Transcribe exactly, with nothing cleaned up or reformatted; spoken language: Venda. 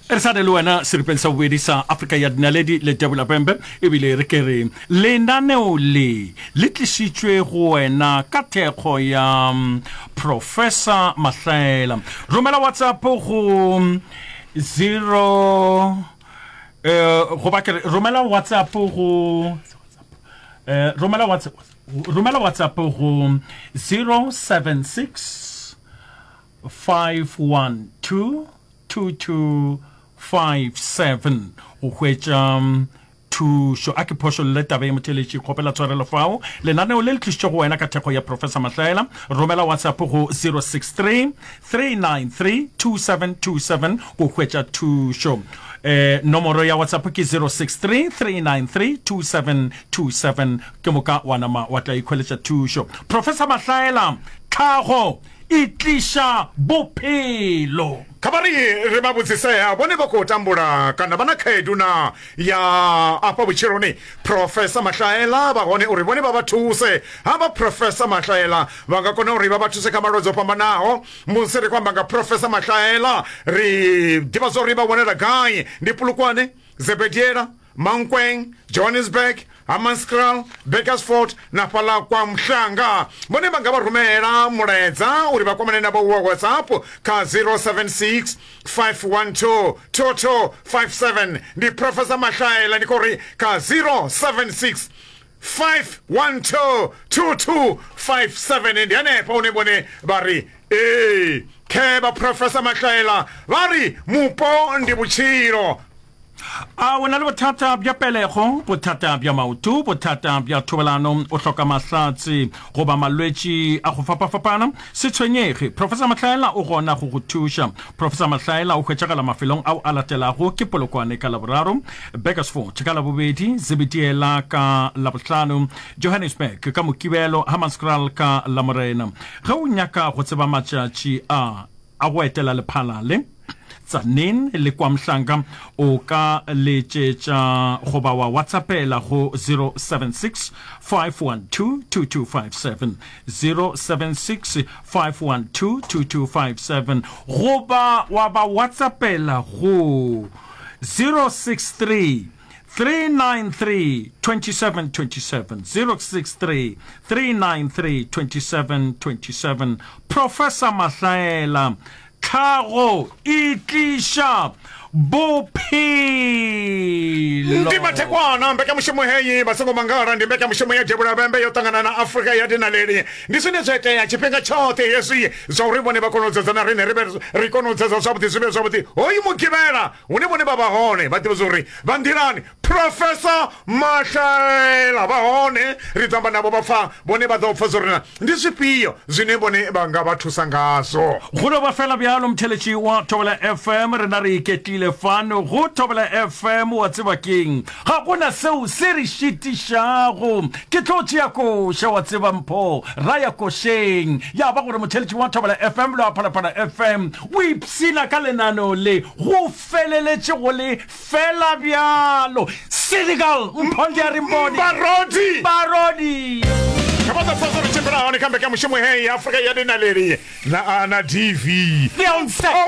Re sa le le wena seripeng sa bobedi sa Afrika ya Dinaledi le Debula Pembe, ebile re ke re lenaneo le le tlišitšwe go wena ka thekgo ya mm, Professor Mahlaela. Romela WhatsApp go zero eh goba ke re romela WhatsApp go eh romela WhatsApp romela WhatsApp go zero seven six five one two two two five seven go hwetša mm, thušo. A ke phošolle taba ye, motheletši, kgopela tshwarelo fao. Lenaneo le le tlišitše go wena ka thekgo ya Professor Mahlaela. Romela WhatsApp go zero six three three nine three two seven two seven go hwetša thušo. Eh, nomoro ya WhatsApp ke zero six three three nine three two seven two seven, ke moka wa nama wa tla ikhweletša thušo. Professor Mahlaela, tlhago e tliša bophelo. Kha vha ri ri vha vhudzisea vhone vha khou tambula kana vha na khaedu na ya afha vhutshiloni. Professor Mahlaela vha hone uri vhone vha vha thuse. Havha Professor Mahlaela vha nga kona uri vha vha thuse kha malwadze o fhambanaho. Musi ri khou amba nga Professor Mahlaela ri ḓivha zwa uri vha wanala gai, ndi Polokwane, Zebediela, Mankweng, Johannesburg, Hammanskraal, Bakersford na fhaḽa kwa Mhlanga. Vhone vha nga vha rumela mulaedza uri vha kwamane navho wa WhatsApp kha zero seven six five one two two two five seven. Ndi Professor Mahlaela, ndi khou ri kha zero seven six five one two two two five seven. Ndi hanefha hune vhone vha ri ee khe vha Professor Mahlaela vha ri mupo ndi vhutshilo. A o na le bothata bja pelego, bothata bja maoto, bothata bja thobalano, o hloka mahlatse goba malwetši a go fapafapana? Se tshwenyege, Professor Mahlaela o gona go go thuša. Professor Mahlaela o hwetšagala mafelong ao a latelago: ke Polokwane ka Laboraro, Bakersford ka Labobedi, Zebediela ka Labohlano, Johannesburg ka Mokibelo, Hammanskraal ka Lamorena. Ge o nyaka go tseba matšatši a a go etela Lephalale, Tzaneen le kwa Mhlanga, o ka letšetša goba wa WhatsAppela go zero seven six five one two two two five seven, zero seven six five one two two two five seven, goba wa ba WhatsAppela go zero six three three nine three twenty seven twenty seven, zero six three three nine three twenty seven twenty seven. Professor Mahlaela, tlhago e tliša bophelo. Ndi mathekwana mbekanyamushumo heyi vha songo mangala, ndi mbekanyamushumo ya Debula Vhembe yo ṱangana na Afrika ya Dinaleli. Ndi zwine zwa itea tshifhinga tshoṱhe hezwi zwa uri vhone vha kone u dzedza na riṋe ri vhe ri kone u dzedza zwavhuḓi, zwi vhe zwavhuḓi. Hoyu Mugivhela hune vhone vha vha hone vha ḓivha zwa uri vha nḓilani, Professor Mahlaela vha hone, ri ḓo amba navho vha pfa vhone vha ḓo pfa zwa uri ndi zwifhio zwine vhone vha nga vha thusa ngazwo. Go no ba fela bjalo, motheletši wa Thobela F M, rena re iketlile fano go Thobela F M. Wa tseba keng, ga gona seo se re šitišago. Ke tlo tšea koša, wa tseba mpho, ra ya košeng. Ya ba gore motheletši wa Thobela F M le wa Phalaphala F M o ipshina ka lenaneo le go feleletše go le fela bjalo. Senegal, mpho ndi a re mpone. Barodi. Barodi. Kha vha ḓo pfa zwo ri tshimbila hone kha mbekanyamushumo heyi ya Afrika ya Dinaleli na, na D V. Beyonce. Oh,